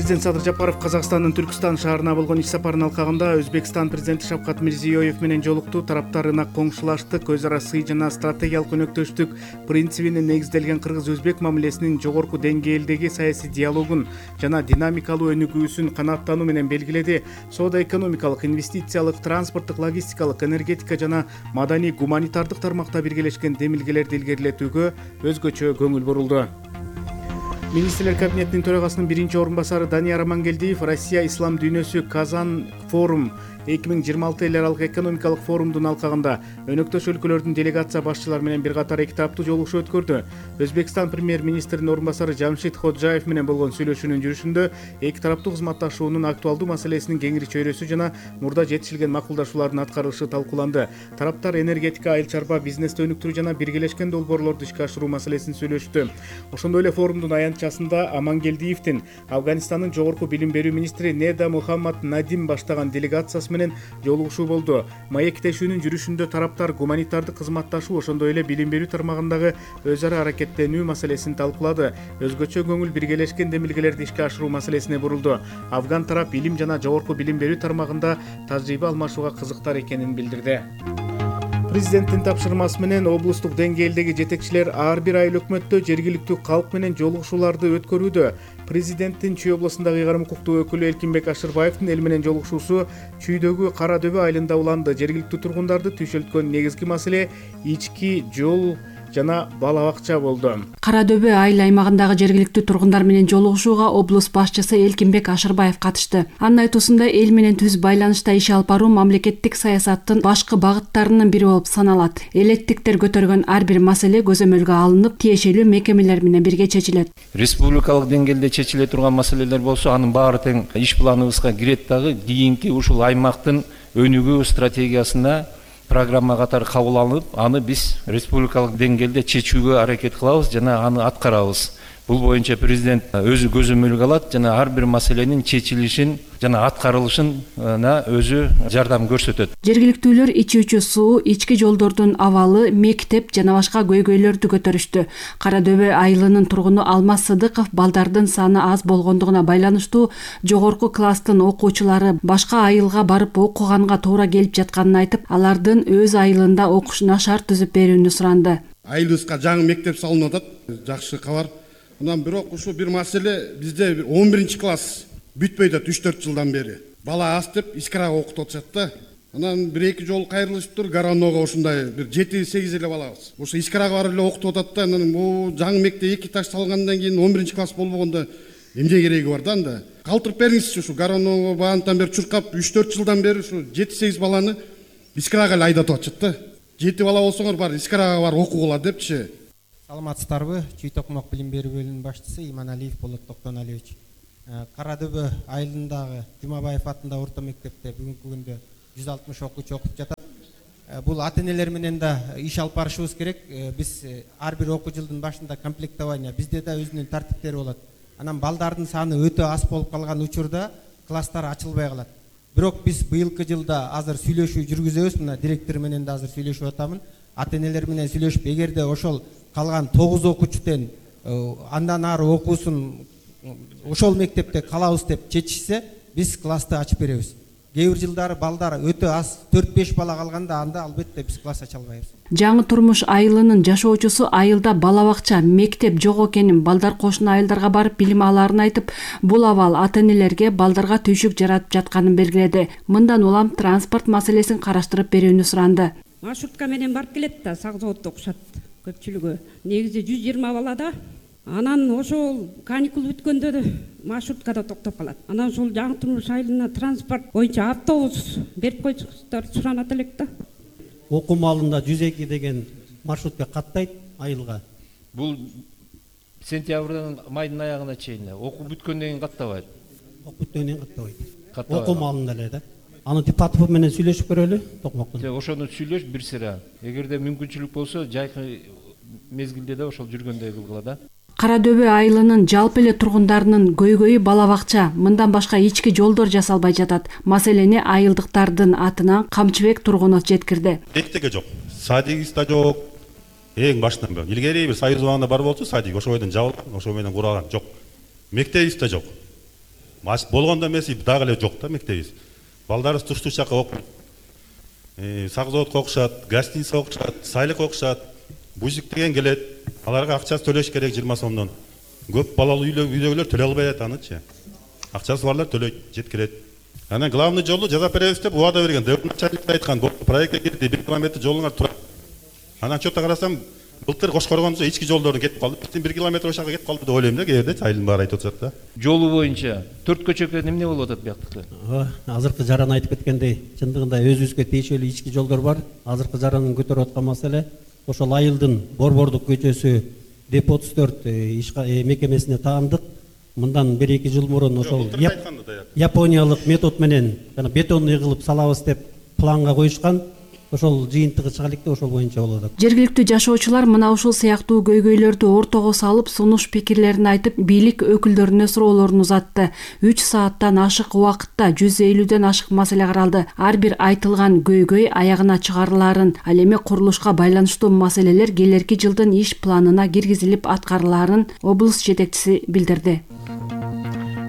Президент Садыр Жапаров Казакстандын Түркстан шаарына болгон иш сапарынын алкагында Өзбекстан президенти Шавкат Мирзиёев менен жолукту. Тараптар ынак коңшулаштык, өз ара сый жана стратегиялык өнөктөштүк принцибине негизделген кыргыз-өзбек мамилесинин жогорку деңгээлдеги саясий диалогун жана динамикалуу өнүгүүсүн канааттануу менен белгиледи. Соода-экономикалык, инвестициялык, транспорттук, логистикалык, энергетика жана маданий гуманитардык тармакта биргелешкен демилгелерди илгерилетүүгө өзгөчө көңүл бурулду. Министрлер кабинетинин төрагасынын биринчи орун басары Данияр Амангелдиев Россия ислам дүйнөсү Казан форум 2026 эл аралык экономикалык форумдун алкагында өнөктөш өлкөлөрдүн делегация башчылары менен бир катар эки тараптуу жолугушуу өткөрдү. Өзбекстан премьер-министринин орун басары Жамшид Ходжаев менен болгон сүйлөшүүнүн жүрүшүндө эки тараптуу кызматташуунун актуалдуу маселесинин кеңири чөйрөсү жана мурда жетишилген макулдашуулардын аткарылышы талкууланды. Тараптар энергетика, айыл чарба, бизнести өнүктүрүү жана биргелешкен долбоорлорду ишке ашыруу маселесин сүйлөштү. Ошондой эле форумдун аянтчасында Амангелдиевдин Афганистандын жогорку билим берүү министри Неда Мухаммад Надим баштаган делегациясы менен жолугушуу болду. Маектешүүнүн жүрүшүндө тараптар гуманитардык кызматташуу, ошондой эле билим берүү тармагындагы өз ара аракеттенүү маселесин талкуулады. Өзгөчө көңүл биргелешкен демилгелерди ишке ашыруу маселесине бурулду. Афган тарап илим жана жогорку билим берүү тармагында тажрыйба алмашууга кызыктар экенин билдирди. Президенттин тапшырмасы менен облустук деңгээлдеги жетекчилер ар бир айыл өкмөттө жергиликтүү калк менен жолугушууларды өткөрүүдө. Президенттин Чүй облусундагы ыйгарым укуктуу өкүлү Элкинбек Ашырбаевдин эл менен жолугушуусу Чүйдөгү Кара Дөбө айылында уланды. Жергиликтүү тургундарды түйшөлткөн негизги маселе ички жол жана бала бакча болду. Кара Дөбө айыл аймагындагы жергиликтүү тургундар менен жолугушууга облус башчысы Элкинбек Ашырбаев катышты. Анын айтуусунда эл менен түз байланышта иш алып баруу мамлекеттик саясаттын башкы багыттарынын бири болуп саналат. Электиктер көтөргөн ар бир маселе көзөмөлгө алынып, тиешелүү мекемелер менен бирге чечилет. Республикалык деңгээлде чечиле турган маселелер болсо, анын баары тең иш планыбызга кирет дагы. Кийинки ушул аймактын өнүгүү стратегиясына программа катары кабыл алынып, аны биз республикалык деңгээлде чечүүгө аракет кылабыз жана аны аткарабыз. Бул боюнча президент өзү көзөмөлгө алат жана ар бир маселенин чечилишин жана аткарылышына өзү жардам көрсөтөт. Жергиликтүүлөр ичүүчү суу, ички жолдордун абалы, мектеп жана башка көйгөйлөрдү көтөрүштү. Кара Дөбө айылынын тургуну Алмаз Сыдыков балдардын саны аз болгондугуна байланыштуу жогорку класстын окуучулары башка айылга барып окуганга туура келип жатканын айтып, алардын өз айылында окушуна шарт түзүп берүүнү суранды. Айылыбызга жаңы мектеп салынып атат. Жакшы кабар. Анан бирок ушу бир маселе, бизде 11-класс бүтпөйт атат 3-4 жылдан бери. Бала аз деп Искарага окутуп атышат да. Анан бир-эки жол кайрылышыптыр, Гаранога ушундай бир 7-8 эле балабыз. Ошо Искарага барып эле окутуп атат да. Анан бул жаңы мектеп 2 этаж салгандан кийин 11-класс болбогондо эмне кереги бар да анда? Калтырып бериңизчи, ушу Гаранога баантан бери чуркап 3-4 жылдан бери ушу 7-8 баланы Искарага эле айдатып атышат да. 7 бала болсоңор бар Искарага бар окугула депчи. Саламатсыздарбы? Чүй Токмок билим берүү бөлүмүнүн башчысы Иманалиев Болот Токтоналиевич. Кара Дөбө айылындагы Жумабаев атындагы орто мектепте бүгүнкү күндө 160 окуучу окуп жатат. Бул ата-энелер менен да иш алып барышыбыз керек. Биз ар бир окуу жылдын башында комплектование, бизде да өзүнүн тартиптери болот. Анан балдардын саны өтө аз болуп калган учурда класстар ачылбай калат. Бирок биз быйылкы жылда азыр сүйлөшүү жүргүзөбүз. Мына директор менен да азыр сүйлөшүп атамын. Ата-энелер менен сүйлөшүп, эгерде ошол калган 9 окуучуден андан ары окуусун ошол мектепте калабыз деп чечишсе, биз классты ачып беребиз. Кээ бир жылдары балдар өтө аз 4-5 бала калганда анда албетте биз класс ача албайбыз. Жаңы турмуш айылынын жашоочусу айылда бала бакча, мектеп жок экенин, балдар кошуна айылдарга барып билим алаарын айтып, бул абал ата-энелерге балдарга түйшүк жаратып жатканын белгиледи. Мындан улам транспорт маселесин караштырып берүүнү суранды. Маршрутка менен барып келет да, сак заводдо окушат көпчүлүгү. Негизи 120 бала да. Анан ошол каникул бүткөндө маршруткада токтоп калат. Анан ошол жаңы турмуш айылына транспорт боюнча автобус берип койсуңуздар суранат элек да. Окуу маалында 102 деген маршрутка каттайт айылга. Бул сентябрдын майдын аягына чейин окуу бүткөндөн кийин каттабайт. Окуу бүткөндөн кийин каттабайт. Окуу маалында эле да. Аны Типатов менен сүйлөшүп көрөлү, Токмоктон. Ошону сүйлөш бир сыра. Эгерде мүмкүнчүлүк болсо, жайкы мезгилде да ошол жүргөндөй кылгыла да. Кара Дөбө айылынын жалпы эле тургундарынын көйгөйү бала бакча, мындан башка ички жолдор жасалбай жатат. Маселени айылдыктардын атынан Камчыбек тургунов жеткирди. Эктеге жок, садик да жок. Эң башынан бери илгери бир союз убагында бар болчу, садик ошол бойдон жабылган, ошол менен куралган жок. Мектеп да жок. болгондо эмес, дагы эле жок да мектебибиз. Балдарыбыз туш-туш жака окуйт. Сак заводко окушат, гостиница окушат, сайлык окушат, бузик деген келет. Аларга акчасы төлөш керек 20 сомдон. Көп балалуу үйдөгүлөр төлөй албай атанычы. Акчасы барлар төлөйт, жеткирет. Анан главный жолду жасап беребиз деп убада берген. Начальник айткан, проектке кирди, 1 километр жолуңар турат. Анан отчетто карасам, былтыр Кошкоргондо ички жолдордун кетип калды. Биздин 1 километр ошага кетип калды деп ойлойм да, кээде айылдын баары айтып атат да. Жолу боюнча 4 көчөккө эмне болуп атат бияктыкта? Азыркы жаран айтып кеткендей, чындыгында өзүбүзгө тиешелүү ички жолдор бар. Азыркы жарандын көтөрүп аткан маселе ошол айылдын Борбордук көчөсү деп 34 мекемесине таандык. Мындан 1-2 жыл мурун ошол япониялык метод менен жана бетонный кылып салабыз деп планга коюшкан. Ошол жыйынтыгы чыга электе, ошол боюнча болот. Жергиликтүү жашоочулар мына ушул сыяктуу көйгөйлөрдү ортого салып, сунуш пикирлерин айтып, бийлик өкүлдөрүнө суроолорун узатты. 3 сааттан ашык убакытта 150ден ашык маселе каралды. Ар бир айтылган көйгөй аягына чыгарылаарын, ал эми курулушка байланыштуу маселелер келерки жылдын иш планына киргизилип аткарылаарын облус жетекчиси билдирди.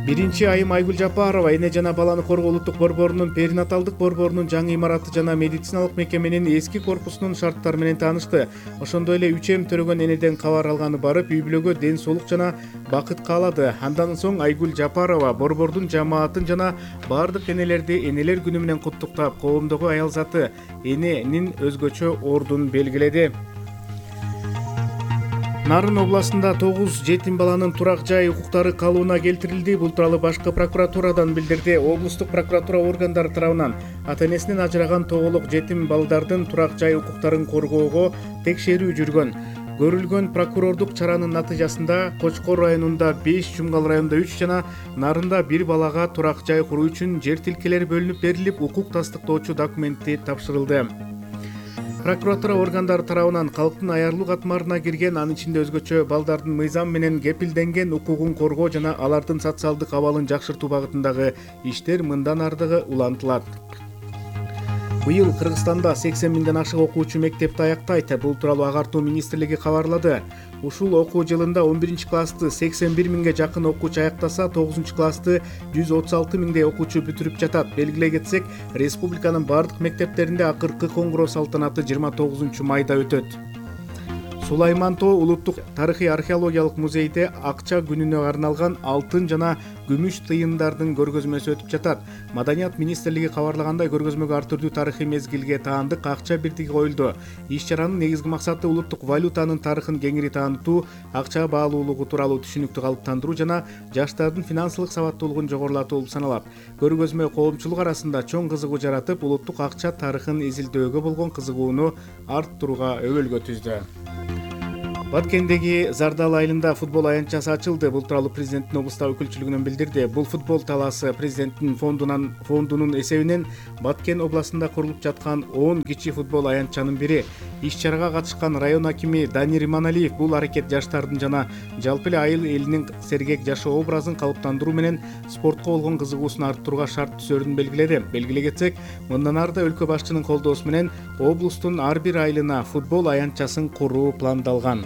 Биринчи айым Айгүл Жапарова эне жана баланы коргоо улуттук борборунун перинаталдык борборунун жаңы имараты жана медициналык мекеменин эски корпусунун шарттары менен таанышты. Ошондой эле 3 төрөгөн энеден кабар алганы барып, үй бүлөгө ден соолук жана бакыт каалады. Андан соң Айгүл Жапарова борбордун жамаатын жана бардык энелерди энелер күнү менен куттуктап, коомдогу аял заты эненин өзгөчө ордун белгиледи. Нарын областында 9 жетим баланын турак жай укуктары калыбына келтирилди. Бул тууралуу башкы прокуратурадан билдирди. Облустук прокуратура органдары тарабынан ата-энесинен ажыраган тоголок жетим балдардын турак жай укуктарын коргоого текшерүү жүргөн. Көрүлгөн прокурордук чаранын натыйжасында Кочкор районунда 5, Жумгал районунда 3 жана Нарында 1 балага турак жай куруу үчүн жер тилкелери бөлүнүп берилип, укук тастыктоочу документи тапшырылды. Прокуратура органдары тарабынан калктын аярлуу катмарына кирген, анын ичинде өзгөчө балдардын мыйзам менен кепилденген укугун коргоо жана алардын социалдык абалын жакшыртуу багытындагы иштер мындан ардыгы улантылат. Быйыл Кыргызстанда 80 миңден ашык окуучу мектепти аяктайт. Бул тууралуу Агартуу министрлиги кабарлады. Ушул окуу жылында 11-классты 81 миңге жакын окуучу аяктаса, 9-классты 136 миңдей окуучу бүтүрүп жатат. Белгилей кетсек, республиканын бардык мектептеринде акыркы коңгуроо салтанаты 29 майда өтөт. Сулайман Тоо улуттук тарыхый археологиялык музейде акча күнүнө арналган алтын жана күмүш тыйындардын көргөзмөсү өтүп жатат. Маданият министрлиги кабарлагандай, көргөзмөгө ар түрдүү тарыхый мезгилге таандык акча бирдиги коюлду. Иш чаранын негизги максаты улуттук валютанын тарыхын кеңири таанытуу, акча баалуулугу тууралуу түшүнүктү калыптандыруу жана жаштардын финансылык сабаттуулугун жогорулатуу болуп саналат. Көргөзмө коомчулук арасында чоң кызыгуу жаратып, улуттук акча тарыхын изилдөөгө болгон кызыгууну арттырууга өбөлгө түздү. Баткендеги Зардал айылында футбол аянтчасы ачылды. Бул тууралуу президенттин облустагы өкүлчүлүгүнөн билдирди. Бул футбол талаасы президенттин фондунун эсебинен Баткен областында курулуп жаткан 10 кичи футбол аянтчанын бири. Иш чарага катышкан район акими Данир Иманалиев бул аракет жаштардын жана жалпы эле айыл элинин сергек жашоо образын калыптандыруу менен спортко болгон кызыгуусун арттырууга шарт түзөрүн белгиледи. Белгилей кетсек, мындан ары да өлкө башчынын колдоосу менен облустун ар бир айылына футбол аянтчасын куруу пландалган.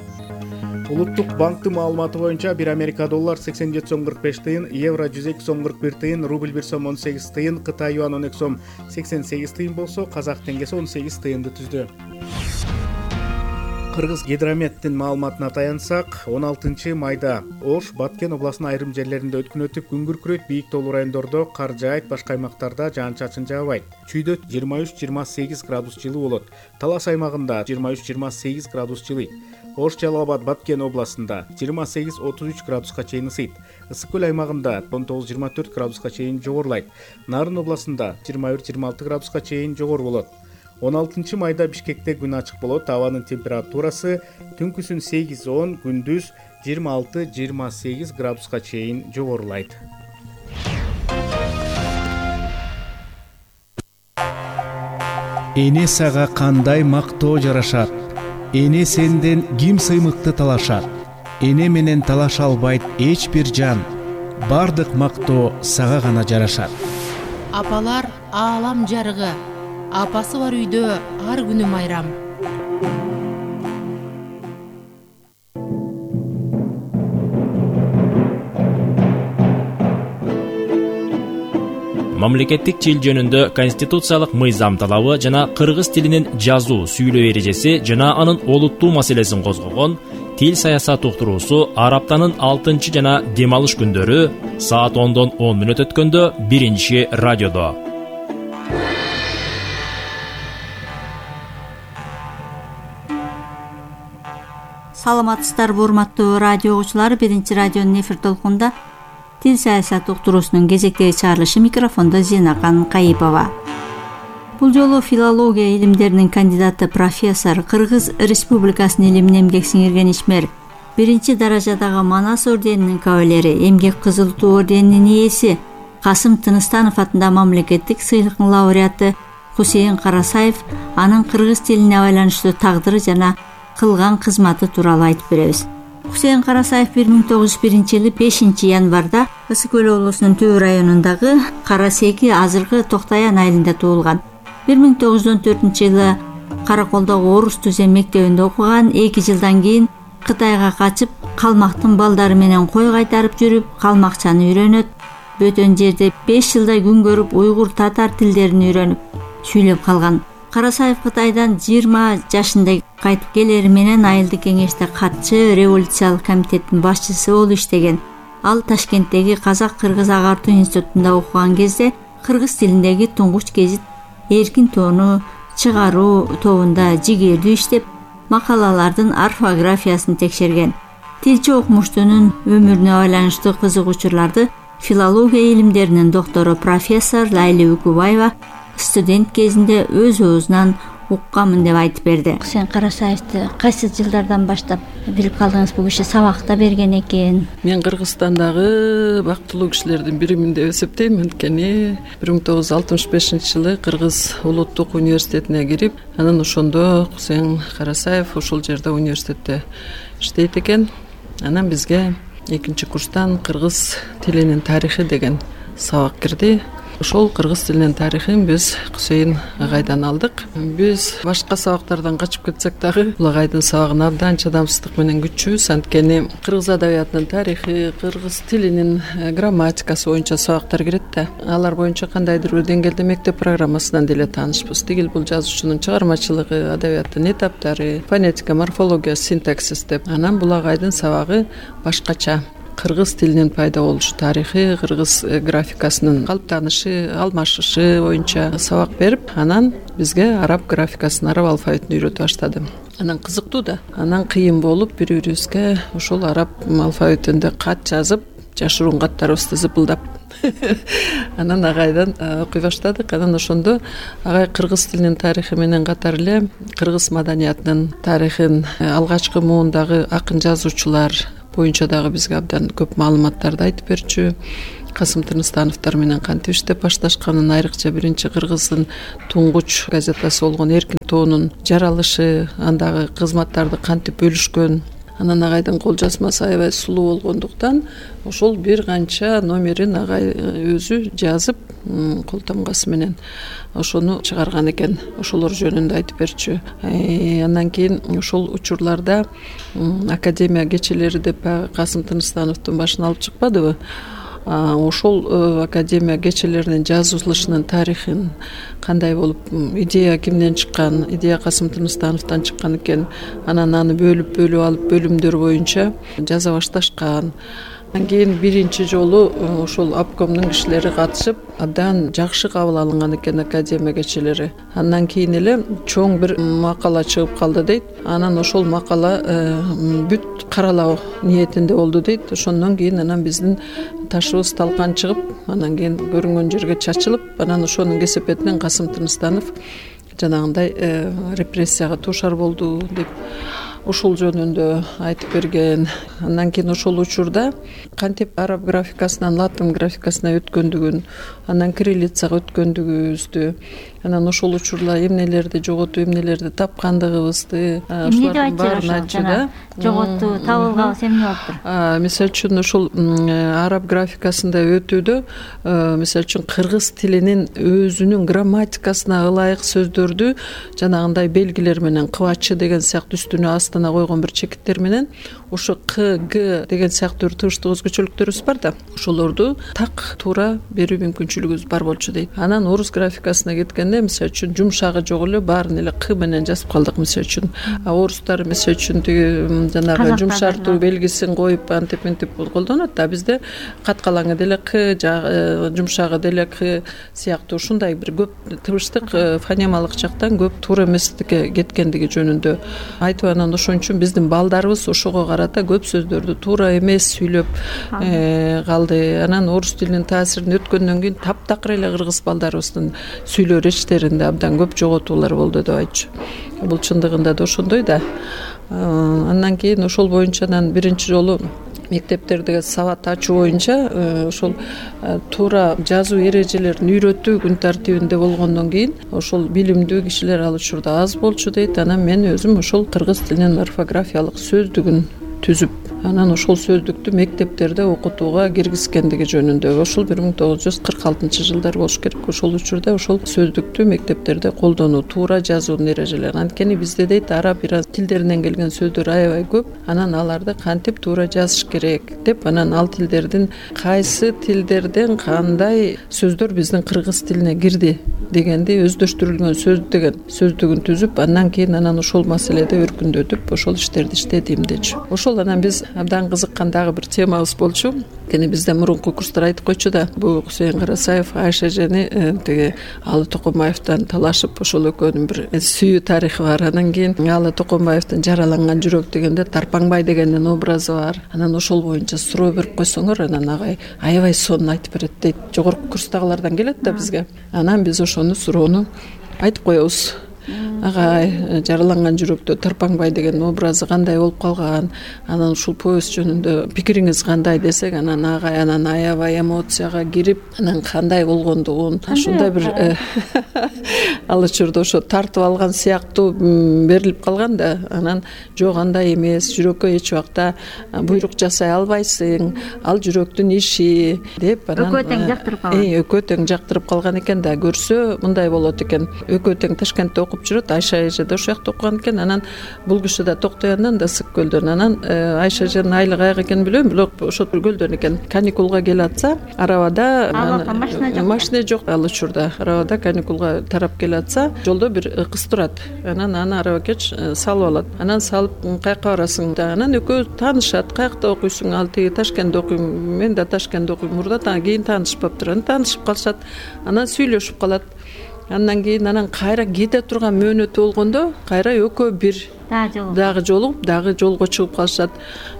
Улуттук банктын маалыматы боюнча 1 Америка доллар 87 сом 45 тыйын, евро 102 сом 41 тыйын, рубль 1 сом 18 тыйын, Кытай юан 12 сом 88 тыйын болсо, казак теңгеси 18 тыйынды түздү. Кыргыз гидрометтин маалыматына таянсак, 16 майда Ош, Баткен областынын айрым жерлеринде өткүн өтүп, күн күркүрөйт, бийик тоолуу райондордо кар жаайт, башка аймактарда жаан-чачын жаабайт. Чүйдө 23-28 градус жылуу болот. Талас аймагында 23-28 градус жылыйт. Ош, Жалал-Абад, Баткен областында 28-33 градуска чейин ысыйт. Ысык көл аймагында 19-24 градуска чейин жогорулайт. Нарын областында 21-26 градуска чейин жогору болот. 16 майда Бишкекте күн ачык болот. Абанын температурасы түнкүсүн 8-10, күндүз 26-28 градуска чейин жогорулайт. Эне сага кандай мактоо жарашат? Эне сенден ким сыймыкты талашат? Эне менен талаша албайт эч бир жан. Бардык мактоо сага гана жарашат. Апалар аалам жарыгы. Апасы бар үйдө ар күнү майрам. мамлекеттик тил жөнүндө конституциялык мыйзам талабы жана кыргыз тилинин жазуу сүйлөө эрежеси жана анын олуттуу маселесин козгогон тил саясат уктуруусу ар аптанын 6 жана дем алыш күндөрү саат 10 өткөндө 1-радиодо. Саламатсыздарбы урматтуу радио угуучулары, 1-радионун эфир толкунда тил саясат уктуруусунун кезектеги чыгарылышы, микрофондо Зинакан Кайыпова. Бул жолу филология илимдеринин кандидаты профессор, Кыргыз Республикасынын илимин эмгек сиңирген ишмер, 1-даражадагы Манас орденинин кавалери, эмгек кызыл туу орденинин ээси Касым Тыныстанов атындагы мамлекеттик сыйлыктын лауреаты Хусейин Карасаев анын кыргыз тилине байланыштуу тагдыры жана кылган кызматы тууралуу айтып беребиз. Хусейин Карасаев 1901-жылы 5-январда Ысык көл облусунун Түбү районундагы Карасеки, азыркы Токтаян айылында туулган. 1914-жылы Караколдогу Орус Түзем мектебинде окуган. 2 жылдан кийин Кытайга качып, калмактын балдары менен кой кайтарып жүрүп, калмакчаны үйрөнөт. Бөтөн жерде 5 жылдай күн көрүп, уйгур, татар тилдерин үйрөнүп, сүйлөп калган. Карасаев Кытайдан 20 жашында кайтып келери менен айылдык кеңеште катчы, революциялык комитеттин башчысы болуп иштеген. Ал Ташкенттеги Казак-Кыргыз агартуу институтунда окуган кезде кыргыз тилиндеги туңгуч гезит Эркин тоону чыгаруу тобунда жигердүү иштеп, макалалардын орфографиясын текшерген. Тилчи окумуштунун өмүрүнө байланыштуу кызыгуучуларды филология илимдеринин доктору профессор Лайли Үкүбаева студент кезинде өз оозунан укканмын деп айтып берди. Сен Карасаевди кайсы жылдардан баштап билип калдыңыз? Бул киши сабакта берген экен. Мен Кыргызстандагы бактылуу кишилердин биримин деп эсептейм. Анткени 1965-жылы Кыргыз улуттук университетине кирип, анан ошондо Хусейин Карасаев ушул жерде университетте иштейт экен. Анан бизге 2-курстан кыргыз тилинин тарыхы деген сабак кирди. Ошол кыргыз тилинин тарыхын биз Хусейин агайдан алдык. Биз башка сабактардан качып кетсек дагы, бул агайдын сабагына абдан чыдамсыздык менен күтчүбүз. Анткени кыргыз адабиятынын тарыхы, кыргыз тилинин грамматикасы боюнча сабактар кирет да. Алар боюнча кандайдыр бир деңгээлде мектеп программасынан деле таанышпыз. Тигил бул жазуучунун чыгармачылыгы, адабияттын этаптары, фонетика, морфология, синтаксис деп. Анан бул агайдын сабагы башкача. Кыргыз тилинин пайда болушу тарыхы, кыргыз графикасынын калыптанышы, алмашышы боюнча сабак берип, анан бизге араб графикасын, араб алфавитин үйрөтүп баштады. Анан кызыктуу да, анан кыйын болуп бири-бирибизге ошол араб алфавитинде кат жазып, жашыруун каттарыбызды зыпылдап анан агайдан окуй баштадык. Анан ошондо агай кыргыз тилинин тарыхы менен катар эле кыргыз маданиятынын тарыхын, алгачкы муундагы акын жазуучулар боюнча дагы бизге абдан көп маалыматтарды айтып берчү. Касым Тыныстановдор менен кантип иштеп башташканын, айрыкча биринчи кыргыздын туңгуч газетасы болгон Эркин тоонун жаралышы, андагы кызматтарды кантип бөлүшкөн. Анан агайдын кол жазмасы аябай сулуу болгондуктан ошол бир канча номерин агай өзү жазып, кол тамгасы менен ошону чыгарган экен. Ошолор жөнүндө айтып берчү. Андан кийин ошол учурларда академия кечелери деп Касым Тыныстановдун башын алып чыкпадыбы? Ошол академия кечелеринин жазылышынын тарыхын, кандай болуп, идея кимден чыккан, идея Касым Тыныстановдон чыккан экен. Анан аны бөлүп алып бөлүмдөр боюнча жаза башташкан. Андан кийин биринчи жолу ошол обкомдун кишилери катышып, абдан жакшы кабыл алынган экен академия кечелери. Андан кийин эле чоң бир макала чыгып калды дейт. Анан ошол макала бүт каралоо ниетинде болду дейт. Ошондон кийин анан биздин ташыбыз талкан чыгып, анан кийин көрүнгөн жерге чачылып, анан ошонун кесепетинен Касым Тыныстанов жанагындай репрессияга туушар болду деп ошол жөнүндө айтып берген. Андан кийин ошол учурда кантип араб графикасынан латын графикасына өткөндүгүн, андан кириллицага өткөндүгүбүздү, анан ошол учурда эмнелерди жоготуп эмнелерди тапкандыгыбызды эмне деп айтчу айтчу да. Жоготту табылганыбыз эмне болуптур? Мисалы үчүн ошол араб графикасында өтүүдө мисалы үчүн кыргыз тилинин өзүнүн грамматикасына ылайык сөздөрдү жанагындай белгилер менен кыбачы деген сыяктуу үстүнө астына койгон бир чекиттер менен ошо к, г деген сыяктуу тыбыштык өзгөчөлүктөрүбүз бар да, ошолорду так туура берүү мүмкүнчүлүгүбүз бар болчу дейт. Анан орус графикасына кеткенде мисалы үчүн жумшагы жок эле баарын эле к менен жазып калдык мисалы үчүн. Орустар мисалы үчүн тиги жанагы жумшартуу белгисин коюп антип мынтип колдонот да, бизде каткалаңы деле к, жумшагы деле к сыяктуу ушундай бир көп тыбыштык фонемалык жактан көп туура эместикке кеткендиги жөнүндө айтып, анан ошон үчүн биздин балдарыбыз ошого карата көп сөздөрдү туура эмес сүйлөп калды. Анан орус тилинин таасирин өткөндөн кийин таптакыр эле кыргыз балдарыбыздын сүйлөө речтеринде абдан көп жоготуулар болду деп айтчу. Бул чындыгында да ошондой да. Андан кийин ошол боюнча анан биринчи жолу мектептердеги сабат ачуу боюнча ошол туура жазуу эрежелерин үйрөтүү күн тартибинде болгондон кийин ошол билимдүү кишилер ал учурда аз болчу дейт. Анан мен өзүм ошол кыргыз тилинин орфографиялык сөздүгүн түзүп, анан ошол сөздүктү мектептерде окутууга киргизгендиги жөнүндө ошол 1946-жылдар болуш керек. Ошол учурда ошол сөздүктү мектептерде колдонуу, туура жазуунун эрежелери. Анткени бизде дейт араб иран тилдеринен келген сөздөр аябай көп, анан аларды кантип туура жазыш керек деп, анан ал тилдердин кайсы тилдерден кандай сөздөр биздин кыргыз тилине кирди дегенди өздөштүрүлгөн сөз деген сөздүгүн түзүп, андан кийин анан ошол маселеде өркүндөтүп ошол иштерди иштедим дечү. Ошол анан биз абдан кызыккан дагы бир темабыз болчу. Кени бизде мурунку курстар айтып койчу да, бул Кусейин Карасаев Айша эжени тиги Алы Токомбаевден талашып, ошол экөөнүн бир сүйүү тарыхы бар. Анан кийин Алы Токомбаевдин Жараланган жүрөк дегенде Тарпаңбай дегендин образы бар. Анан ошол боюнча суроо берип койсоңор, анан агай аябай сонун айтып берет дейт. Жогорку курстагылардан келет да бизге. Анан биз ошону суроону айтып коебуз. Агай, Жараланган жүрөктө Тарпаңбай деген образы кандай болуп калган, анан ушул повесть жөнүндө пикириңиз кандай десек, анан агай анан аябай эмоцияга кирип, анан кандай болгондугун ушундай бир ал учурда ошо тартып алган сыяктуу берилип калган да. Анан жок, андай эмес, жүрөккө эч убакта буйрук жасай албайсың, ал жүрөктүн иши деп, анан экөө тең жактырып калган. Экөө тең жактырып калган экен да. Көрсө мындай болот экен. Экөө тең Ташкентте окуп жүрөт, Айша эже да ошол жакта окуган экен. Анан бул киши да Токтояндан да Ысык көлдөн. Анан Айша эженин айылы каяка экенин билбейм, бирок ошол көлдөн экен. Каникулга келе атса, арабада машина жок ал учурда. Арабада каникулга тарап келе атса, жолдо бир кыз турат. Анан аны арабакеч салып алат. Анан салып, каяка барасың да. Анан экөө таанышат. Каякта окуйсуң? Ал тиги Ташкентте окуйм. Мен да Ташкентте окуйм. Мурда кийин таанышпаптыр. Анан таанышып калышат. Анан сүйлөшүп калат. Андан кийин анан кайра кете турган мөөнөтү болгондо кайра экөө бир дагы жолугуп, дагы жолго чыгып калышат.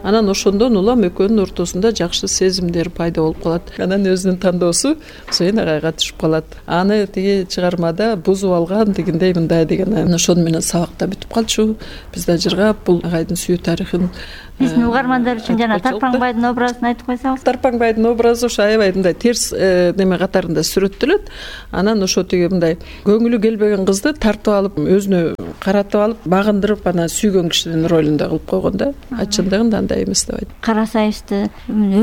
Анан ошондон улам экөөнүн ортосунда жакшы сезимдер пайда болуп калат. Анан өзүнүн тандоосу Кусейин агайга түшүп калат. Аны тиги чыгармада бузуп алган дегендей мындай деген. Анан ошону менен сабакта бүтүп калчу. Биз да жыргап бул агайдын сүйүү тарыхын биздин угармандар үчүн жана Тарпаңбайдын образын айтып койсоңуз. Тарпаңбайдын образы ошо аябай мындай терс неме катарында сүрөттөлөт. Анан ошо тиги мындай көңүлү келбеген кызды тартып алып, өзүнө каратып алып, багындырып анан сүйгөн кишинин ролунда кылып койгон да. Чындыгында андай эмес деп айтат. Карасаевдин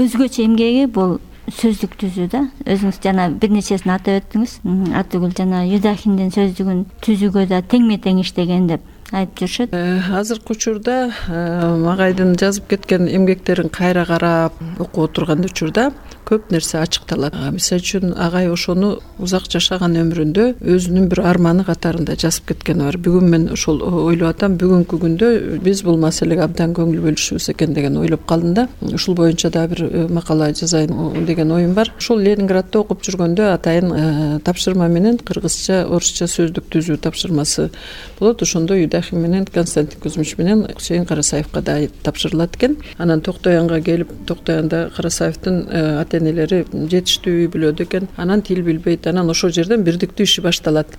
өзгөчө эмгеги бул сөздүк түзүү да. Өзүңүз жана бир нечесин атап өттүңүз. Атыгүл жана Юдахиндин сөздүгүн түзүүгө да теңме тең иштеген деп айтып жүрүшөт. Азыркы учурда агайдын жазып кеткен эмгектерин кайра карап окуп отурган учурда көп нерсе ачыкталат. Мисалы үчүн агай ошону узак жашаган өмүрүндө өзүнүн бир арманы катарында жазып кеткени бар. Бүгүн мен ошол ойлоп атам, бүгүнкү күндө биз бул маселеге абдан көңүл бөлүшүбүз экен деген ойлоп калдым да. Ушул боюнча да бир макала жазайын деген оюм бар. Ошол Ленинградда окуп жүргөндө атайын тапшырма менен кыргызча, орусча сөздүк түзүү тапшырмасы болот. Ошондо Юдахин менен Константин Кузьмич менен Кусейин Карасаевка да тапшырылат экен. Анан Токтоянга келип, Токтоянда Карасаевдин ата-энелери жетиштүү үй бүлөдө экен. Анан тил билбейт. Анан ошол жерден бирдиктүү иши башталат.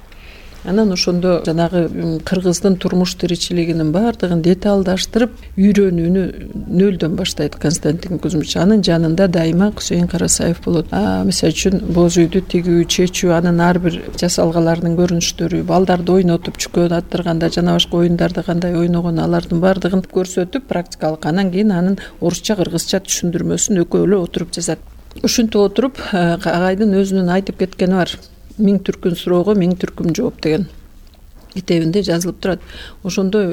анан ошондо жанагы кыргыздын турмуш тиричилигинин баардыгын деталдаштырып үйрөнүүнү нөлдөн баштайт Константин Кузьмич. Анын жанында дайыма Кусейин Карасаев болот. Мисалы үчүн боз үйдү тигүү, чечүү, анын ар бир жасалгаларынын көрүнүштөрү, балдарды ойнотуп чүкөн аттырганда жана башка оюндарды кандай ойногон алардын баардыгын көрсөтүп практикалык, анан кийин анын орусча, кыргызча түшүндүрмөсүн экөө эле отуруп жазат. Ушинтип отуруп агайдын өзүнүн айтып кеткени бар. Миң түркүн суроого миң түркүм жооп деген китебинде жазылып турат. Ошондо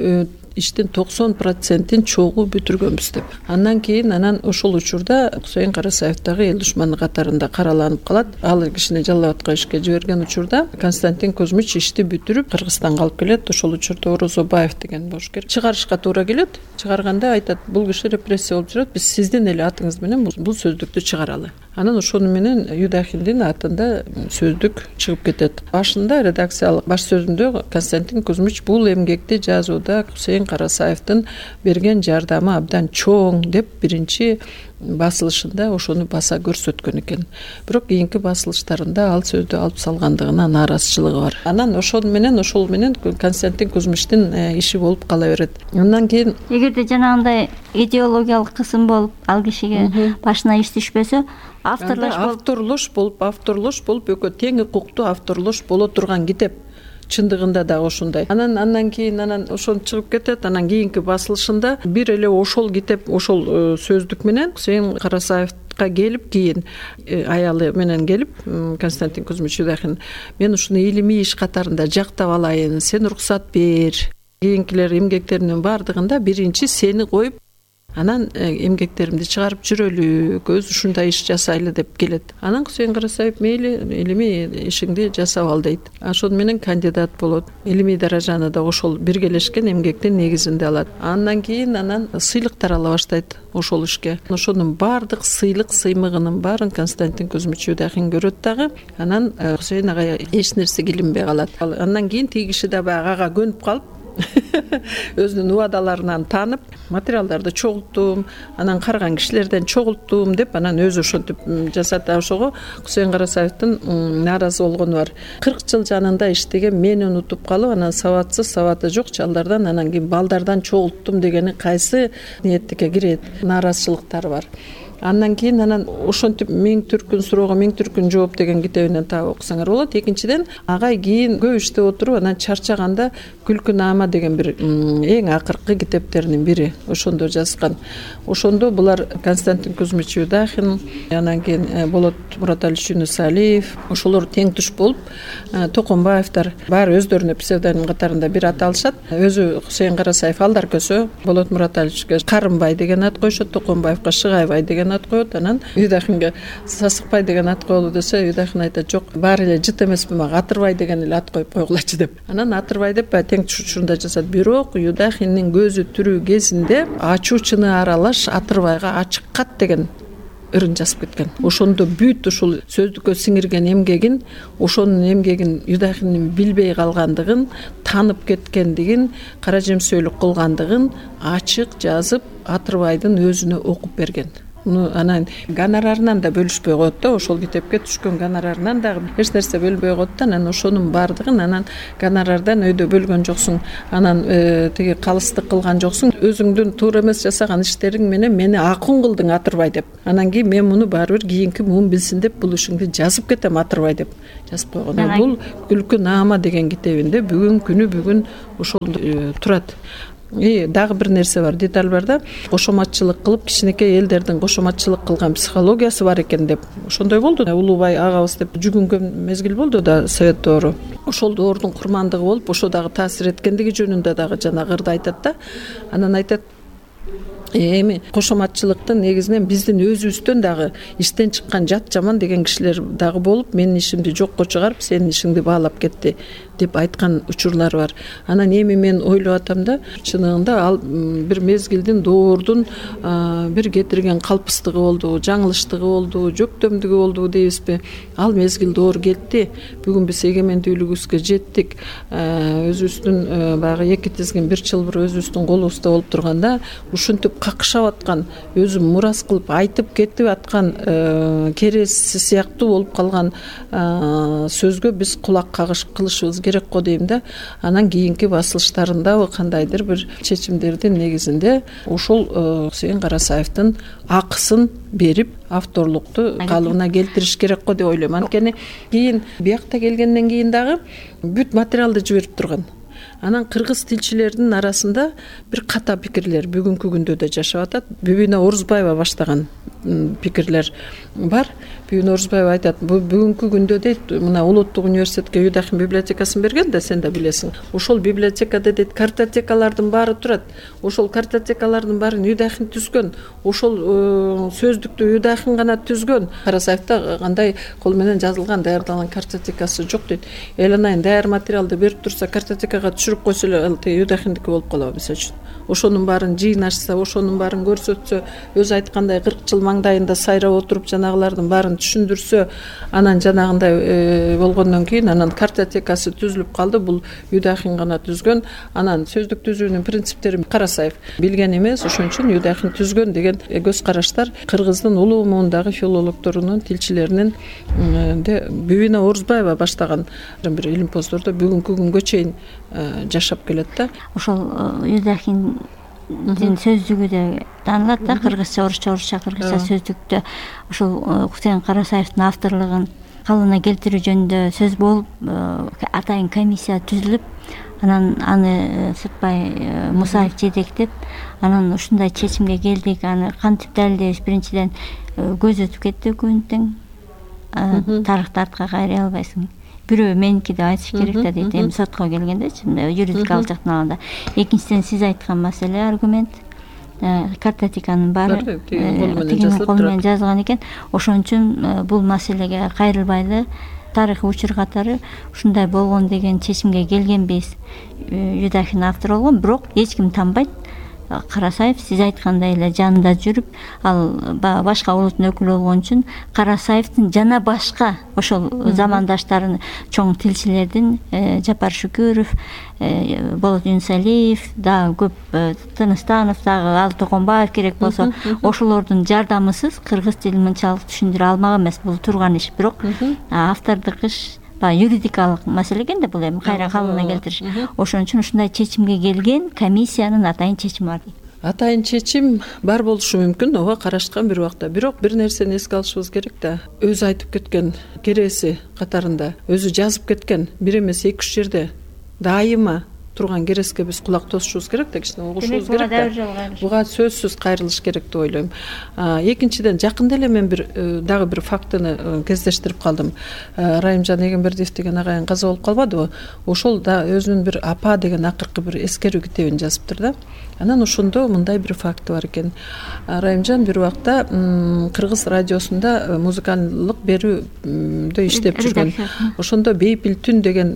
иштин 90%-ин чогуу бүтүргөнбүз деп. Андан кийин ошол учурда Кусейин Карасаев дагы эл душманы катарында караланып калат. Ал кишини жалал абадка ишке жиберген учурда Константин Кузьмич ишти бүтүрүп Кыргызстанга алып келет. Ошол учурда Орозобаев деген бошкер чыгарышка туура келет. Чыгарганда айтат, бул киши репрессия болуп жүрөт, биз сиздин эле атыңыз менен бул сөздүктү чыгаралы. Анан ошону менен Юдахиндин атында сөздүк чыгып кетет. Башында редакциялык баш сөзүндө Константин Кузьмич бул эмгекти жазууда Кусейин Карасаевдин берген жардамы абдан чоң деп биринчи басылышында ошону баса көрсөткөн экен. Бирок кийинки басылыштарында ал сөздү алып салгандыгына нааразычылыгы бар. Анан ошол менен Константин Кузьмичтин иши болуп кала берет. Андан кийин эгерде жанагындай идеологиялык кысым болуп ал кишиге башына иш түшпөсө, авторлош болуп экөө тең укуктуу авторлош боло турган китеп. Чындыгында да ошондой. Андан кийин ошол чыгып кетет. Анан кийинки басылышында бир эле ошол китеп, ошол сөздүк менен Кусейин Карасаевка келип, кийин аялы менен келип, Константин Кузьмич Юдахин, мен ушуну илимий иш катарында жактап алайын, сен уруксат бер. Кийинкилер эмгектеринин баардыгында биринчи сени коюп, анан эмгектеримди чыгарып жүрөлү, көз ушундай иш жасайлы деп келет. Анан Кусейин Карасаев мейли илимий ишиңди жасап ал дейт. Ошону менен кандидат болот. Илимий даражаны да ошол биргелешкен эмгектин негизинде алат. Андан кийин сыйлыктар ала баштайт ошол ишке. Ошонун баардык сыймыгынын баарын Константин Кузьмич Юдахин көрөт дагы. Анан Кусейин агай эч нерсеге илинбей калат. Андан кийин тиги киши да баягы ага көнүп калып өзүнүн убадаларынан танып, материалдарды чогулттум, анан караган кишилерден чогулттум деп анан өзү ошентип жасат. Ошого Кусейин Карасаевдин нааразы болгону бар. 40 жыл жанында иштеген мени унутуп калып, анан сабаты жок чалдардан анан кийин балдардан чогулттум дегени кайсы ниеттикке кирет, нааразычылыктары бар. Андан кийин ошентип миң түркүн суроого миң түркүн жооп деген китебинен таап окусаңар болот. Экинчиден агай кийин көп иштеп отуруп анан чарчаганда Күлкү наама деген бир эң акыркы китептеринин бири ошондо жазган. Ошондо булар Константин Кузьмич Юдахин, анан кийин Болот Мураталиевич Юнусалиев, ошолор тең туш болуп, Токонбаевдер баары өздөрүнө псевдоним катарында бир ат алышат. Өзү Кусейин Карасаев Алдар көсө, Болот Мураталиевичке Карымбай деген ат койшот, Токонбаевка Шыгайбай деген ат коет. Анан Юдахинге Сасыкбай деген ат коелу десе, Юдахин айтат, жок, баары эле жыт эмеспи, мага Атырбай деген эле ат коюп койгулачы деп. Анан Атырбай деп тең түшүндө жасат. Бирок Юдахиндин көзү тирүү кезинде ачуучуны аралаш Атырбайга ачык кат деген ырын жазып кеткен. Ошондо бүт ушул сөздүккө сиңирген эмгегин, ошонун эмгегин Юдахиндин билбей калгандыгын, танып кеткендигин, кара жемсөөлүк кылгандыгын ачык жазып Атырбайдын өзүнө окуп берген. Анан гонорарынан да бөлүшпөй коет да, ошол китепке түшкөн гонорарынан дагы эч нерсе бөлбөй коет да. Анан ошонун баардыгын анан гонорардан өйдө бөлгөн жоксуң, анан тиги калыстык кылган жоксуң, өзүңдүн туура эмес жасаган иштериң менен мени акун кылдың Атырбай деп. Анан кийин мен муну баары бир кийинки муун билсин деп бул ишиңди жазып кетем Атырбай деп жазып койгон. Бул Күлкү наама деген китебинде бүгүн ошол турат. Дагы бир нерсе бар, деталь бар да, кошоматчылык кылып, кичинекей элдердин кошоматчылык кылган психологиясы бар экен деп. Ошондой болду. Улуубай агабыз деп жүгүнгөн мезгил болду да Совет доору. Ошол доордун курмандыгы болуп, ошо дагы таасир эткендиги жөнүндө дагы жана ырды айтат да. Анан айтат, эми кошоматчылыктын негизинен биздин өзүбүздөн дагы иштен чыккан жат жаман деген кишилер дагы болуп, менин ишимди жокко чыгарып, сенин ишиңди баалап кетти деп айткан учурлар бар. Анан эми мен ойлоп атам да, чынында ал бир мезгилдин доордун бир кетирген калпыстыгы болду, жаңылыштыгы болду, жөктөмдүгү болду дейбизби? Ал мезгил доор кетти. Бүгүн биз эгемендүүлүгүбүзгө жеттик. Өзүбүздүн баягы эки тизгин бир чылбыр өзүбүздүн колубузда болуп турганда, ушинтип какшап аткан, өзү мурас кылып айтып кетип аткан кереси сыяктуу болуп калган сөзгө биз кулак кагыш кылышыбыз керек го дейм да. Анан кийинки басылыштарында кандайдыр бир чечимдердин негизинде ушул Кусейин Карасаевдин акысын берип авторлукту калыбына келтириш керек го деп ойлойм. Анткени кийин биякта келгенден кийин дагы бүт материалды жиберип турган. Анан кыргыз тилчилердин арасында бир ката пикирлер бүгүнкү күндө да жашап атат. Бүбүнө Орузбаева баштаган пикирлер бар. Бүбүнө Орузбаева айтат, бүгүнкү күндө дейт, мына Улуттук университетке Юдахин библиотекасын берген да, сен да билесиң. Ошол библиотекада дейт картотекалардын баары турат. Ошол картотекалардын баарын Юдахин түзгөн. Ошол сөздүктү Юдахин гана түзгөн. Карасаевда кандай кол менен жазылган, даярдалган картотекасы жок дейт. Эланайын даяр материалды берип турса, картотекага түшүрүп койсо эле Юдахиндики болуп калабы мисалы үчүн. Ошонун баарын жыйнашса, ошонун баарын көрсөтсө, өзү айткандай 40 жыл маңдайында сайрап отуруп жанагылардын баарын түшүндүрсө, анан жанагындай болгондон кийин анан картотекасы түзүлүп калды. Бул Юдахин гана түзгөн. Анан сөздүк түзүүнүн принциптерин Карасаев билген эмес, ошон үчүн Юдахин түзгөн деген көз караштар кыргыздын улуу муундагы филологдорунун, тилчилеринин Бүбүнө Орузбаева баштаган бир илимпоздордо бүгүнкү күнгө чейин жашап келет да. Ошол Юдахиндин сөздүгү да таанылат да, кыргызча, орусча, кыргызча сөздүктө ошол Кусейин Карасаевдин авторлугун калыбына келтирүү жөнүндө сөз болуп, атайын комиссия түзүлүп, анан аны Сыртбай Мусаев жетектеп, анан ушундай чечимге келдик. Аны кантип далилдебиз? Биринчиден көз өтүп кетти өкүмөттүн. Тарыхты артка кайрый албайсың. Бирөө меники деп айтыш керек да дейт, эми сотко келгендечи, юридикалык жактан алганда. Экинчиден сиз айткан маселе, аргумент, картотеканын баары тигинин кол менен жазылган экен. Ошон үчүн бул маселеге кайрылбайлы, тарыхый учур катары ушундай болгон деген чечимге келгенбиз. Юдахин автор болгон, бирок эч ким танбайт. Карасаев сиз айткандай эле жанында жүрүп, ал башка улуттун өкүлү болгон үчүн Карасаевдин жана башка ошол замандаштарын, чоң тилчилердин, Жапар Шүкүров, Болот Юнусалиев, дагы көп, Тыныстанов, дагы Алы Токонбаев керек болсо, ошолордун жардамысыз кыргыз тилин мынчалык түшүндүрө алмак эмес. Бул турган иш, бирок автордук иш юридикалык маселе экен да, бул эми кайра калыбына келтириш. Ошон үчүн ушундай чечимге келген комиссиянын атайын чечими бар дейт. Атайын чечим бар болушу мүмкүн, ого карашкан бир убакта. Бирок бир нерсени эске алышыбыз керек да. Өзү айтып кеткен кереси катарында, өзү жазып кеткен бир эмес 2-3 жерде дайыма турган кереске биз кулак тосушубуз керек да, кичине угушубуз керек да. Буга сөзсүз кайрылыш керек деп ойлойм. Экинчиден, жакында эле мен дагы бир фактыны кездештирип калдым. Райымжан Эгембердиев деген агайын каза болуп калбадыбы? Ошол да өзүнүн бир апа деген акыркы бир эскерүү китебин жазыптыр да. Анан ошондо мындай бир факты бар экен. Райымжан бир убакта Кыргыз радиосунда музыкалдык берүүдө иштеп жүргөн. Ошондо Бейпил түн деген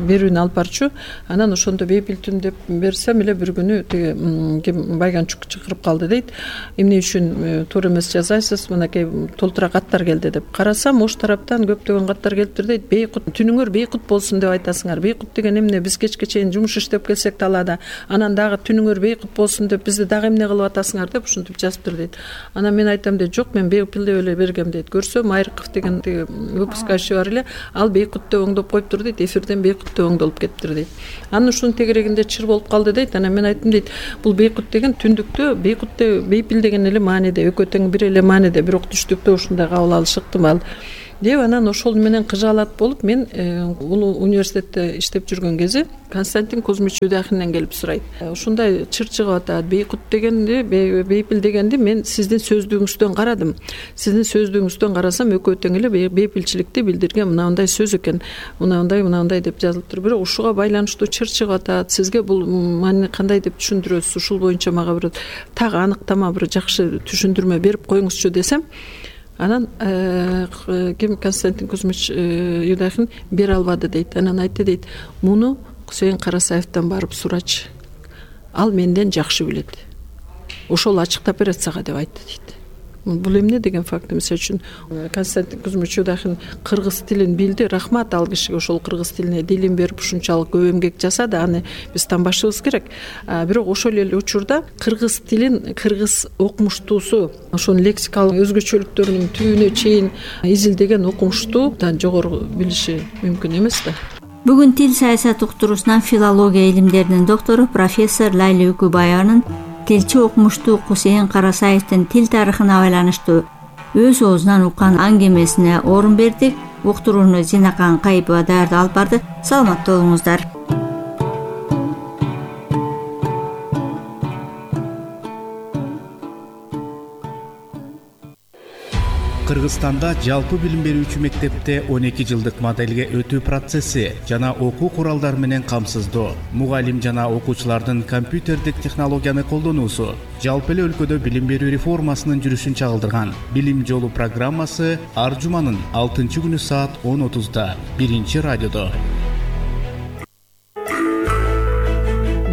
берүүнү алып барчу. Анан ошондо Бейпил түн деп берсем эле бир күнү тиги Байганчук чакырып калды дейт. Эмне үчүн туура эмес жазасыз? Мынакей толтура каттар келди деп. Карасам, ош тараптан көптөгөн каттар келиптир дейт. Бейкут, түнүңөр бейкут болсун деп айтасыңар. Бейкут деген эмне? Биз кечке чейин жумуш иштеп келсек талаада, анан дагы түнүңөр бейкут болсун деп бизди дагы эмне кылып атасыңар деп ушинтип жазыптыр дейт. Анан мен айтам дейт, жок, мен Бейпил деп эле бергем дейт. Көрсөм, Айрыков деген выпускающий бар эле, ал Бейкут деп оңдоп коюптур дейт. Эфирден Бейкут деп оңдолуп кетиптир дейт. Анын ушунун тегерегинде чыр болуп калды дейт. Анан мен айттым дейт, бул Бейкут деген түндүктө, Бейкут деп Бейпил деген эле мааниде, экөө тең бир эле мааниде, бирок түштүктө ушундай кабыл алышы ыктымал деп. Анан ошол менен кыжаалат болуп, мен улуу университетте иштеп жүргөн кези Константин Кузьмич Юдахинден келип сурайт. Ушундай чыр чыгып атат. Бейкут дегенди, Бейпил дегенди мен сиздин сөздүгүңүздөн карадым. Сиздин сөздүгүңүздөн карасам, экөө тең эле бейпилчиликти билдирген мындай сөз экен. Мындай деп жазылыптыр. Бирок ушуга байланыштуу чыр чыгып атат. Сизге бул маани кандай деп түшүндүрөсүз? Ушул боюнча мага бир так аныктама, бир жакшы түшүндүрмө берип коюңузчу десем, анан Константин Кузьмич Юдахин бере албады дейт. Анан айтты дейт, муну Кусейин Карасаевден барып сурачы. Ал менден жакшы билет. Ошол ачыктап берет сага деп айтты дейт. Бул эмне деген факт? Мисалы үчүн Константин Кузьмич Юдахин кыргыз тилин билди. Рахмат ал кишиге, ошол кыргыз тилине дилин берип ушунчалык көп эмгек жасады. Аны биз танбашыбыз керек. Бирок ошол эле учурда кыргыз тилин кыргыз окумуштуусу, ошонун лексикалык өзгөчөлүктөрүнүн түбүнө чейин изилдеген окумуштуудан жогору билиши мүмкүн эмес да. Бүгүн тил саясаты уктуруусунан филология илимдеринин доктору профессор Лайла Үкүбаеванын тилчи окумуштуу Кусейин Карасаевдин тил тарыхына байланыштуу өз оозунан уккан аңгемесине орун бердик. Уктурууну Зинакан Кайыпова даярдап алып барды. Саламаттуу болуңуздар. Кыргызстанда жалпы билим берүүчү мектепте 12 жылдык моделге өтүү процесси жана окуу куралдары менен камсыздоо, мугалим жана окуучулардын компьютердик технологияны колдонуусу жалпы эле өлкөдө билим берүү реформасынын жүрүшүн чагылдырган. Билим жолу программасы ар жуманын 6-күнү саат 10:30 биринчи радиодо.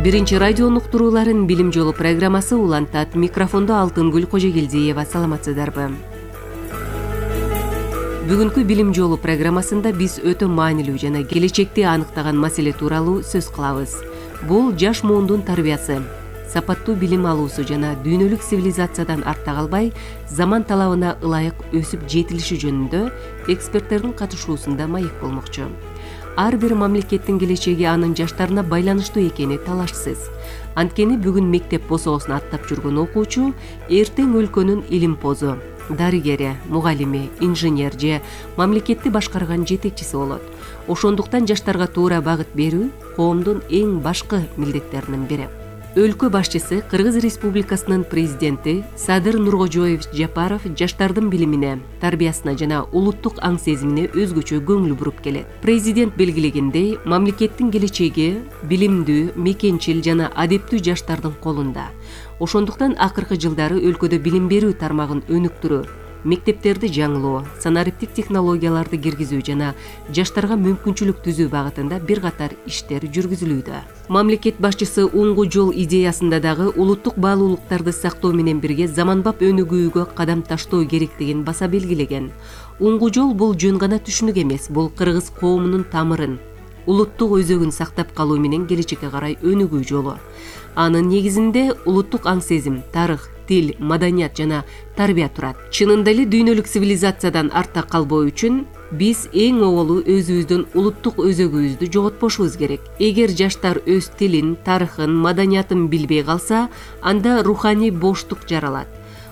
Биринчи радионун уктурууларын Билим жолу программасы улантат. Микрофондо Алтынгүл Кожогелдиева. Саламатсыздарбы? Бүгүнкү Билим жолу программасында биз өтө маанилүү жана келечекти аныктаган маселе тууралуу сөз кылабыз. Бул жаш муундун тарбиясы, сапаттуу билим алуусу жана дүйнөлүк цивилизациядан артта калбай, заман талабына ылайык өсүп жетилиши жөнүндө эксперттердин катышуусунда маек болмокчу. Ар бир мамлекеттин келечеги анын жаштарына байланыштуу экени талашсыз. Анткени бүгүн мектеп босоосун аттап жүргөн окуучу эртең өлкөнүн илимпозу, дарыгери, мугалими, инженер же мамлекетти башкарган жетекчиси болот. Ошондуктан жаштарга туура багыт берүү коомдун эң башкы милдеттеринин бири. Өлкө башчысы Кыргыз Республикасынын президенти Садыр Нуркожоевич Жапаров жаштардын билимине, тарбиясына жана улуттук аң сезимине өзгөчө көңүл буруп келет. Президент белгилегендей, мамлекеттин келечеги билимдүү, мекенчил жана адептүү жаштардын колунда. Ошондуктан акыркы жылдары өлкөдө билим берүү тармагын өнүктүрүү, мектептерди жаңылоо, санариптик технологияларды киргизүү жана жаштарга мүмкүнчүлүк түзүү багытында бир катар иштер жүргүзүлүүдө. Мамлекет башчысы уңгу жол идеясында дагы улуттук баалуулуктарды сактоо менен бирге заманбап өнүгүүгө кадам таштоо керектигин баса белгилеген. Уңгу жол бул жөн гана түшүнүк эмес, бул кыргыз коомунун тамырын, улуттук өзөгүн сактап калуу менен келечекке карай өнүгүү жолу. Анын негизинде улуттук аң сезим, тарых, тил, маданият жана тарбия турат. Чынында эле дүйнөлүк цивилизациядан артта калбоо үчүн биз эң оболу өзүбүздүн улуттук өзөгүбүздү жоготпошубуз керек. Эгер жаштар өз тилин, тарыхын, маданиятын билбей калса, анда руханий боштук жаралат.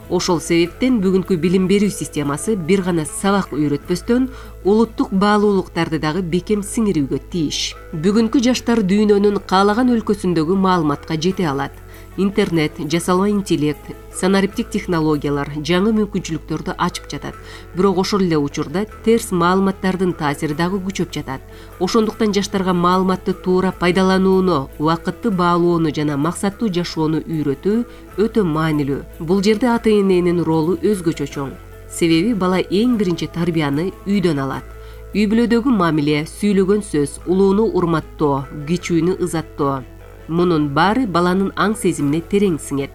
Ошол себептен бүгүнкү билим берүү системасы бир гана сабак үйрөтпөстөн улуттук баалуулуктарды дагы бекем сиңирүүгө тийиш. Бүгүнкү жаштар дүйнөнүн каалаган өлкөсүндөгү маалыматка жете алат. Интернет, жасалма интеллект, санариптик технологиялар жаңы мүмкүнчүлүктөрдү ачып жатат. Бирок ошол эле учурда терс маалыматтардын таасири дагы күчөп жатат. Ошондуктан жаштарга маалыматты туура пайдаланууну, убакытты баалоону жана максаттуу жашоону үйрөтүү өтө маанилүү. Бул жерде ата-эненин ролу өзгөчө чоң. Себеби бала эң биринчи тарбияны үйдөн алат. Үй бүлөдөгү мамиле, сүйлөгөн сөз, улууну урматтоо, кичүүнү ызаттоо. Мунун баары баланын аң сезимине терең сиңет.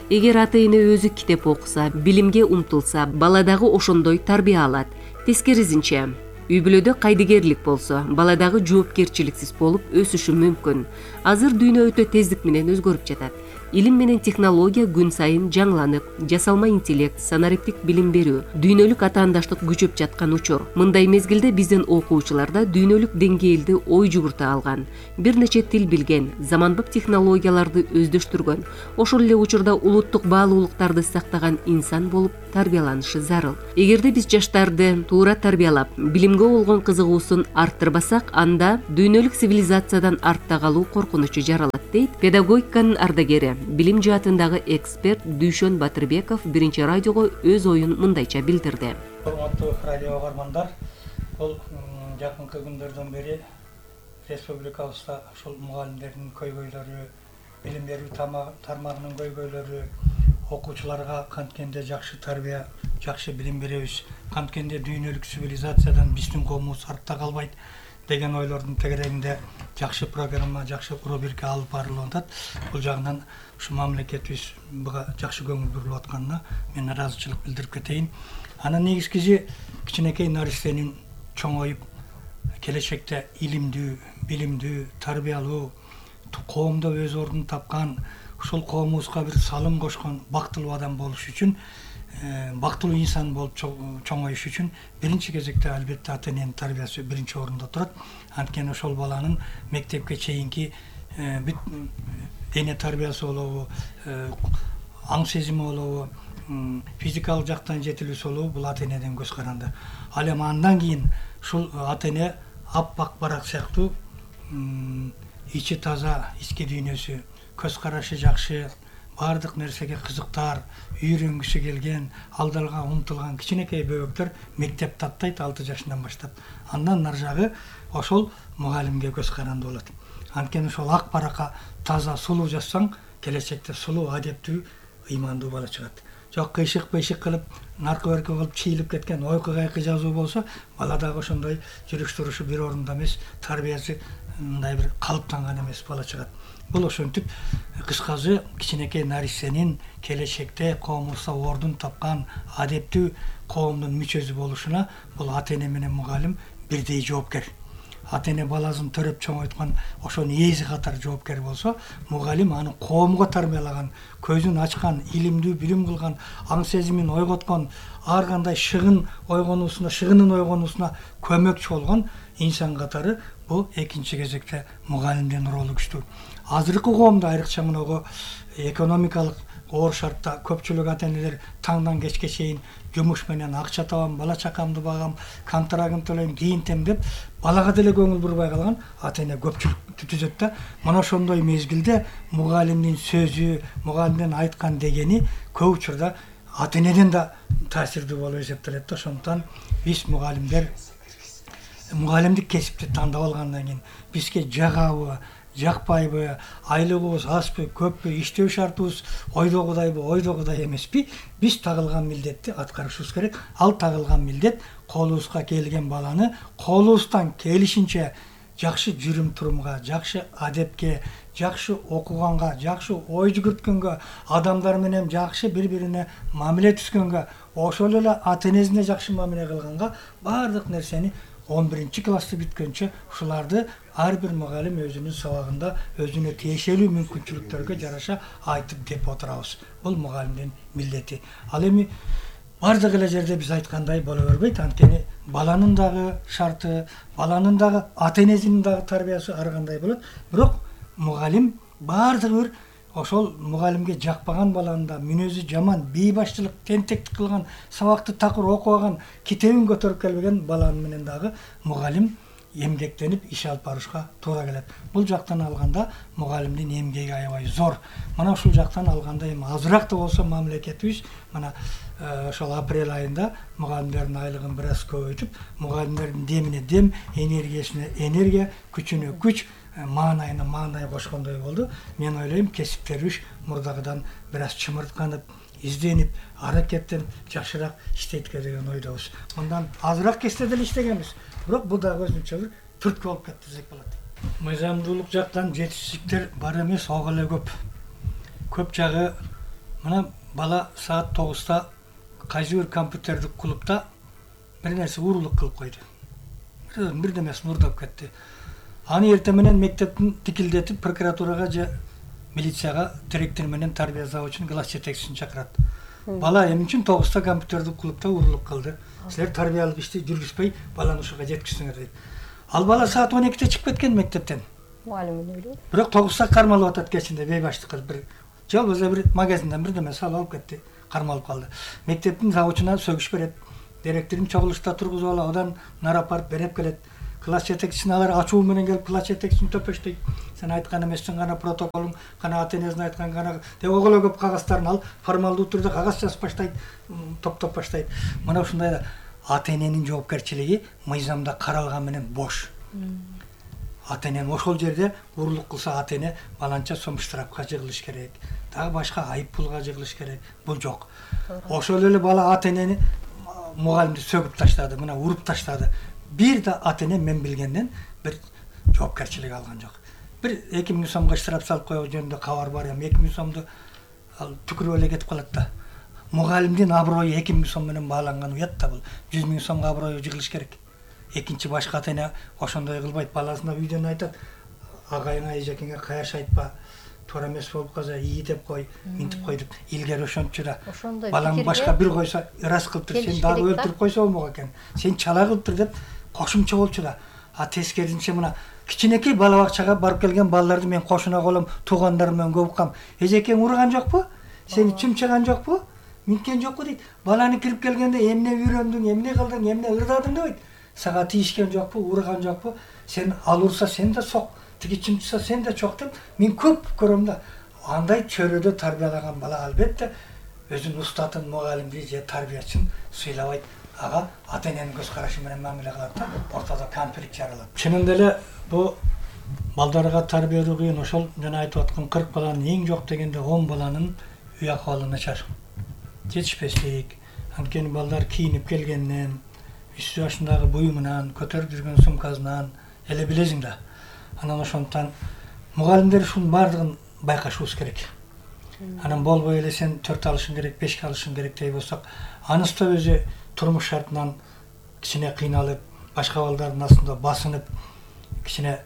Эгер ата-эне өзү китеп окуса, билимге умтулса, бала дагы ошондой тарбия алат. Тескерисинче, үй бүлөдө кайдыгерлик болсо, бала дагы жоопкерчиликсиз болуп өсүшү мүмкүн. Азыр дүйнө өтө тездик менен өзгөрүп жатат. Илим менен технология күн сайын жаңыланып, жасалма интеллект, санариптик билим берүү, дүйнөлүк атаандаштык күчөп жаткан учур. Мындай мезгилде биздин окуучуларда дүйнөлүк деңгээлди ой жугурта алган, бир нече тил билген, заманбап технологияларды өздөштүргөн, ошол эле учурда улуттук баалуулуктарды сактаган инсан болуп тарбияланышы зарыл. Эгерде биз жаштарды туура тарбиялап, билимге болгон кызыгуусун арттырбасак, анда дүйнөлүк цивилизациядан артта калуу коркунучу жаралат, дейт педагогиканын ардагери, билим жаатындагы эксперт Дүйшөн Батырбеков биринчи радиого өз оюн мындайча билдирди. Урматтуу радио угармандар, бул жакынкы күндөрдөн бери республикабызда ушул мугалимдердин көйгөйлөрү, билим берүү тармагынын көйгөйлөрү, окуучуларга канткенде жакшы тарбия, жакшы билим беребиз, канткенде дүйнөлүк цивилизациядан биздин коомубуз артта калбайт деген ойлордун тегерегинде жакшы программа, жакшы рубрика алып барылып атат. Бул жагынан ушу мамлекетибиз буга жакшы көңүл бурулуп атканына мен ыраазычылык билдирип кетейин. Анын негизгиси кичинекей наристенин чоңоюп, келечекте илимдүү, билимдүү, тарбиялуу, коомдо өз ордун тапкан, ушул коомубузга бир салым кошкон бактылуу адам болуш үчүн бактылуу инсан болуп чоңоюш үчүн биринчи кезекте албетте ата эненин тарбиясы биринчи орунда турат. Анткени ошол баланын мектепке чейинки бүт дене тарбиясы болобу, аң сезими болобу, физикалык жактан жетилүүсү болобу, бул ата энеден көз каранды. Ал эми андан кийин ушул ата эне аппак барак сыяктуу ичи таза, ички дүйнөсү, көз карашы жакшы, баардык нерсеге кызыктар, үйрөнгүсү келген, алдалга умтулган кичинекей бөбөктөр мектеп таттайт 6 жашынан баштап. Андан нар жагы ошол мугалимге көз каранды болот. Анткени ошол ак баракка таза сулуу жазсаң, келечекте сулуу, адептүү, ыймандуу бала чыгат. Жок кыйшык кылып, наркы берки кылып чийилип кеткен ойкы кайкы жазуу болсо, бала дагы ошондой жүрүш турушу бир орунда эмес, тарбиясы мындай бир калыптанган эмес бала чыгат. Бул ошентип кыскасы кичинекей нарсенин келечекте коомубузда ордун тапкан адептүү коомдун мүчөсү болушуна бул ата эне менен мугалим бирдей жоопкер. Ата эне баласын төрөп чоңойткан ошонун ээси катар жоопкер болсо, мугалим аны коомго тарбиялаган, көзүн ачкан, илимдүү билим кылган, аң сезимин ойготкон, ар кандай шыгынын ойгонуусуна көмөкчү болгон инсан катары бул экинчи кезекте мугалимдин ролу күчтүү. Азыркы коомдо айрыкча мынагу экономикалык оор шартта көпчүлүк ата энелер таңдан кечке чейин жумуш менен акча табам, бала чакамды багам, контрагын төлөйм, кийинтем деп балага деле көңүл бурбай калган ата эне көпчүлүктү түзөт да. Мына ошондой мезгилде мугалимдин сөзү, мугалимдин айткан дегени көп учурда ата энеден да таасирдүү болуп эсептелет да. Ошондуктан биз мугалимдик кесипти тандап алгандан кийин бизге жагабы, жакпайбы, айлыгыбыз азбы, көппү, иштөө шартыбыз ойдогудай эмеспи, биз тагылган милдетти аткарышыбыз керек. Ал тагылган милдет колубузга келген баланы колубуздан келишинче жакшы жүрүм турумга, жакшы адепке, жакшы окуганга, жакшы ой жүгүрткөнгө, адамдар менен жакшы бири-бирине мамиле түзгөнгө, ошол эле ата энесине жакшы мамиле кылганга баардык нерсени 11 классты бүткөнчө ушуларды ар бир мугалим өзүнүн сабагында өзүнө тиешелүү мүмкүнчүлүктөргө жараша айтып деп отурабыз. Бул мугалимдин милдети. Ал эми бардык эле жерде биз айткандай боло бербейт. Анткени баланын дагы шарты, баланын дагы ата энесинин дагы тарбиясы ар кандай болот. Бирок мугалим бардыгы бир ошол мугалимге жакпаган баланы да мүнөзү жаман, бейбашчылык, тентектик кылган, сабакты такыр окубаган, китебин көтөрүп келбеген баланы менен дагы мугалим эмгектенип иш алып барышка туура келет. Бул жактан алганда мугалимдин эмгеги аябай зор. Мына ушул жактан алганда эми азыраак да болсо мамлекетибиз мына ошол апрель айында мугалимдердин айлыгын бир аз көбөйтүп, мугалимдердин демине дем, энергиясына энергия, күчүнө күч, маанайына маанай кошкондой болду. Мен ойлойм, кесиптерибиз мурдагыдан бир аз чымыртканып, изденип, аракеттенип жакшыраак иштейт деген ойдобуз. Мындан азыраак кесте деле иштегенбиз. Бирок бул дагы өзүнчө бир түрткү болуп кетти десек болот. Мыйзамдуулук жактан жетишсиздиктер бар эмес, ого эле көп. Көп жагы мына бала саат 9-та кайсы бир компьютердик клубда бир нерсе уурулук кылып койду. Бирдемеси мурдап кетти. Аны эртең менен мектептин тикилдетип прокуратурага же милицияга директор менен тарбия завучунун класс жетекчисин чакырат. Бала эмне үчүн 9-та компьютердик клубда уурулуп калды? Силер тарбиялык ишти жүргүзбөй баланы ушуга жеткиздиңер дейт. Ал бала саат 12-те чыгып кеткен мектептен. Мугалим эле. Бирок 9-та кармалып атат кечинде бейбаштык кылып бир жалгыз бир магазинден бирдеме салып алып кетти, кармалып калды. Мектептин завучуна сөгүш берет. Директорун чогулушта тургузуп алып, одан нара апарып берип келет. Класс жетекчисин алар ачуу менен келип класс жетекчисин төпөштөйт. Сен айткан эмессиң, гана протоколуң, гана ата энесин айткан, гана деп оголо көп кагаздарын алып, формалдуу түрдө кагаз жазып баштайт, топтоп баштайт. Мына ушундай да ата эненин жоопкерчилиги мыйзамда каралган менен бош. Ата энен ошол жерде уурулук кылса, ата эне баланча сом штрафка жыгылыш керек, дагы башка айып пулга жыгылыш керек. Бул жок. Ошол эле бала ата энени мугалимди сөгүп таштады, мына уруп таштады. Бир да ата эне мен билгенден бир жоопкерчилик алган жок. Бир 2000 сомго штраф салып коюу жөнүндө кабар бар эми. 2000 сомду ал түкүрүп эле кетип калат да. Мугалимдин аброю 2000 сом менен бааланган уят да бул. 100 000 сомго аброю жыгылыш керек. Экинчи башка ата эне ошондой кылбайт. Баласына үйдөн айтат, агайыңа, эжекеңе каяш айтпа, туура эмес болуп калса ии деп кой, минтип кой деп илгери ошончу да. Ошондой Балаң башка бир койсо ырас кылып тур, сен дагы өлтүрүп койсо болмок экен. Сен чала кылып тур деп кошумча болчу да. А тескерисинче мына кичинекей бала бакчага барып келген балдарды мен кошуна колом, туугандарым менен көп уккам. Эжекең урган жокпу? Сени чымчыган жокпу? Минткен жокпу дейт. Баланы кирип келгенде эмне үйрөндүң, эмне кылдың, эмне ырдадың деп айт. Сага тийишкен жокпу, урган жокпу? Сен ал урса сен да сок, тиги чымчыса сен да чок деп мен көп көрөм да. Андай чөлөдө тарбиялаган бала албетте өзүнүн устатын, мугалимди же тарбиячын сыйлабайт. Ага ата-эненин көз карашы менен мамиле кылат да, ортодо конфликт жаралат. Чынында эле бу балдарга тарбия берүү кыйын. Ошол жана айтып аткан 40 баланын эң жок дегенде 10 баланын үй акыбалы начар. Жетишпештик. Анткени балдар кийинип келгенден, 3 жашындагы буюмунан, көтөрүп жүргөн сумкасынан эле билесиң да. Анан ошондуктан мугалимдер ушунун баардыгын байкашыбыз керек. Анан болбой эле сен 4 алышың керек, 5 алышың керек дей болсок, анысы да өзү турмуш шартынан кичине кыйналып, башка балдардын астында басынып, кичине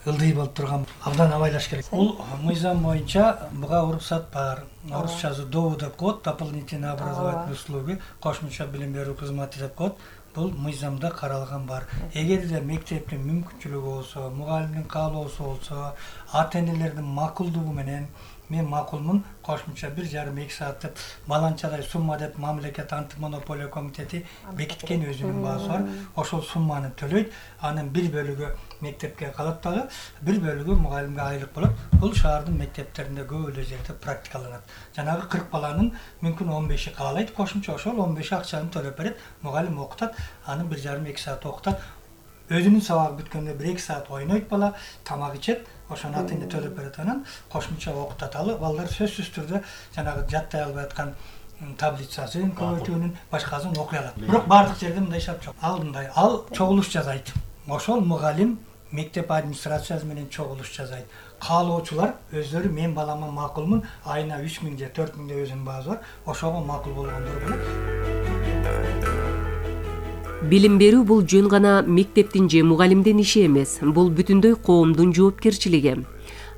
ылдый болуп турган абдан абайлаш керек. Бул мыйзам боюнча буга уруксат бар. Орусчасы ДОУ деп коет, дополнительные образовательные услуги, кошумча билим берүү кызматы деп коет. Бул мыйзамда каралган бар. Эгерде мектептин мүмкүнчүлүгү болсо, мугалимдин каалоосу болсо, ата-энелердин макулдугу менен мен макулмун, кошумча 1,5-2 саат деп баланчадай сумма деп мамлекет антимонополия комитети бекиткен өзүнүн баасы бар. Ошол сумманы төлөйт. Анын бир бөлүгү мектепке калат дагы, бир бөлүгү мугалимге айлык болот. Бул шаардын мектептеринде көп эле жерде практикаланат. Жанагы 40 баланын мүмкүн 15и каалайт, кошумча ошол 15и акчаны төлөп берет, мугалим окутат, аны 1,5-2 саат окутат. Өзүнүн сабагы бүткөндө 1-2 саат ойнойт бала, тамак ичет, ошону ата-эне төлөп берет, анан кошумча окутат. Ал балдар сөзсүз түрдө жанагы жаттай албай аткан таблицасын, көбөйтүүнүн башкасын окуй алат. Бирок бардык жерде мындай шарт жок. Алдындай ал чогулуш жасайт. Ошол мугалим мектеп администрациясы менен чогулуш жасайт. Каалоочулар өздөрү мен балама макулмун, айына 3000 же 4000 деп өзүнүн баасы бар. Ошого макул болгондор болот. Билим берүү бул жөн гана мектептин же мугалимдин иши эмес, бул бүтүндөй коомдун жоопкерчилиги.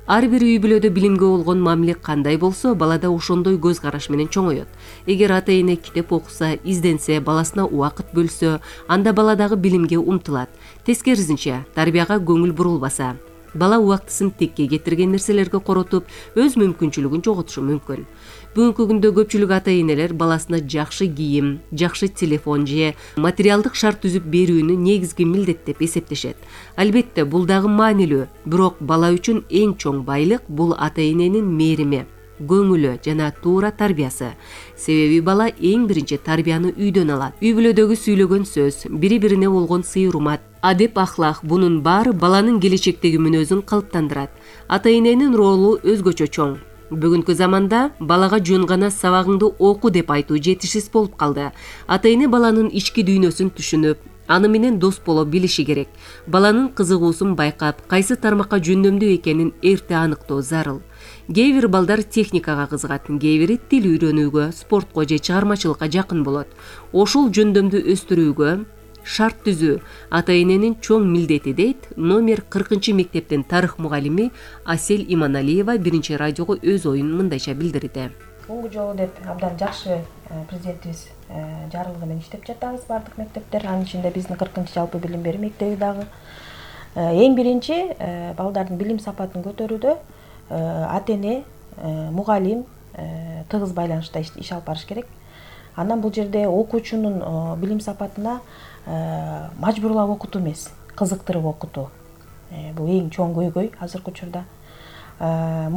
Ар бир үй бүлөдө билимге болгон мамиле кандай болсо, балада ошондой көз караш менен чоңоет. Эгер ата-эне китеп окуса, изденсе, баласына убакыт бөлсө, анда бала дагы билимге умтулат. Тескерисинче, тарбияга көңүл бурулбаса, бала убактысын текке кетирген нерселерге коротуп, өз мүмкүнчүлүгүн жоготушу мүмкүн. Бүгүнкү күндө көпчүлүк ата-энелер баласына жакшы кийим, жакшы телефон же материалдык шарт түзүп берүүнү негизги милдет деп эсептешет. Албетте, бул дагы маанилүү, бирок бала үчүн эң чоң байлык бул ата-эненин мээрими, көңүлү жана туура тарбиясы. Себеби бала эң биринчи тарбияны үйдөн алат. Үй бүлөдөгү сүйлөгөн сөз, бири-бирине болгон сый-урмат, адеп-ахлак бунун баары баланын келечектеги мүнөзүн калыптандырат. Ата-эненин ролу өзгөчө чоң. Бүгүнкү заманда балага жөн гана сабагыңды оку деп айтуу жетишсиз болуп калды. Ата-эне баланын ички дүйнөсүн түшүнүп, аны менен дос боло билиши керек. Баланын кызыгуусун байкап, кайсы тармакка жөндөмдүү экенин эрте аныктоо зарыл. Кээ бир балдар техникага кызыгат, кээ бири тил үйрөнүүгө, спортко же чыгармачылыкка жакын болот. Ошол жөндөмдү өстүрүүгө шарт түзүү ата-эненин чоң милдети дейт номер 40 мектептин тарых мугалими Асель Иманалиева биринчи радиого өз оюн мындайча билдирди. Бунгу жолу деп абдан жакшы президентибиз жарлыгы менен иштеп жатабыз бардык мектептер. Анын ичинде биздин 40 жалпы билим берүү мектеби дагы. Эң биринчи балдардын билим сапатын көтөрүүдө ата-эне, мугалим тыгыз байланышта иш алып барыш керек. Андан бул жерде окуучунун билим сапатына мажбурлап окутуу эмес, кызыктырып окутуу. Бул эң чоң көйгөй азыркы учурда. Мугалим